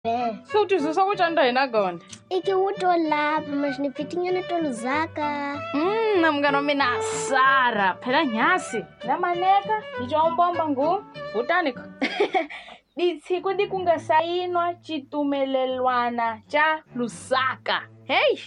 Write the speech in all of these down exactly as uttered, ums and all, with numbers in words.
Se u twisisa ku canda hina gonda Iki wuto lapha mas ni pfitinyana to Lusaka. Mm, na munghana wa mina Sara phela nyasi na maneka hi combomba ngu kutani ditshiku di ku nga sayinwa xitumelelwana xa Lusaka heyi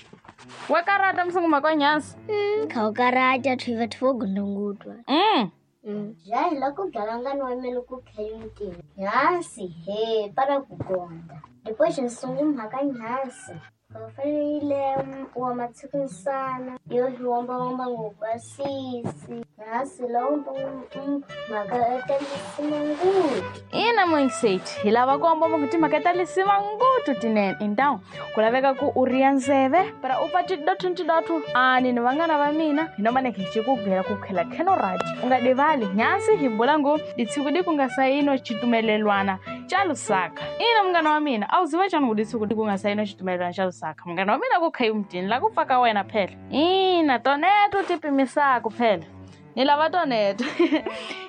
wa karata msunguma kwa nyasi Mm, khawukarata thwiva thwo gondongutwa. mm. Mm. Ja hi la ku byala ngani wa mele ku khayuti. Nyasi he para ku gonda. Depois nsungu mhaka nyasi. Kafanele wa matsikunsana yo hi womba womba ngubasisi. Nyasi lomba mhaka etelisima ngutu. Ina moingiseti hi lava ku komba ku timhaka ta lisima nguthu tinene então ku laveka ku u riya ndzeve para u pfa tidothu tidothu ani ni vanghana va mina hi no maneke hi ci ku gela ku khela kheno radi u nga divali nyasi hi bula ngo ditshiku di ku nga sayino xitumelelwana xa Lusaka ina munghana wa mina a wu ziva xana ku ditshiku di ku nga sayino xitumelelwana xa Lusaka munghana wa mina ku khayi mutini la ku pfa ka wena phela ina toneto ti pimisaku phela ni lava toneto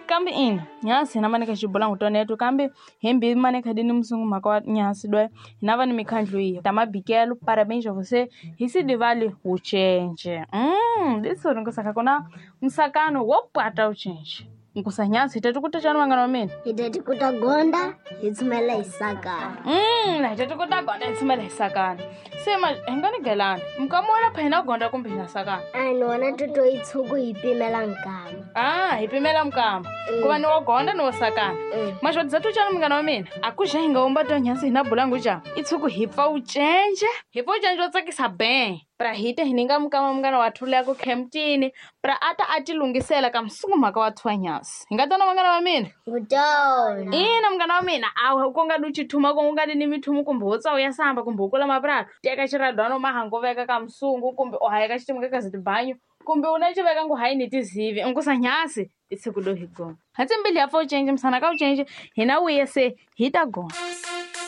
kambe ina nyasi hina maneka xibulangu toneto kambe hembi maneka dini musungu mhaka wa nyasi dwe hina va ni mikhandlu yihi ta mabikelo parabéns a você hi si divali wucenje mm ditso nkusaka kuna msakano wo pwata wucenje nkusa nyasi hi tati kuta chani vanghana wa mina Hi tati kuta gonda hi tsumela hi sakana. Mm, na hi tati kuta gonda hi tsumela hi sakana se ma hi nga ni gelani mukamo wa lapha hina gonda kumbe hina sakana Ani wona toto yi tshuku hi pimela nkama. ah hi pimela mukama ku va ni wo gonda ni wo sakana Mm. maxodza tu cani munghana wa mina a ku xa hi nga womba to nyasi hina bulangu ca i tshuku hi pfa wucenje hi pfa wucenje wo tsakisa ben pra hi te hi ninga mukama munghana wa thula ku khemtini pra a ta a ti lunghisela ka msungu mhaka wa thwa nyasi hi nga tona munghana wa mina Ngutona. ina munghana wa mina awu ku nga di chithuma ku nga di ni mithumu kumbe wo tsa u ya samba kumbe u kula mapurasi teka xiradwano mahango veka ka msungu kumbe u hayeka xitima ka kazitibanyu kumbe u na xi veka ngu hayi ni tizivi nkusa nyasi i siku do hi gona hatsi mbili ya pfa u cince misana ka u cince hina wuye se hi ta gona.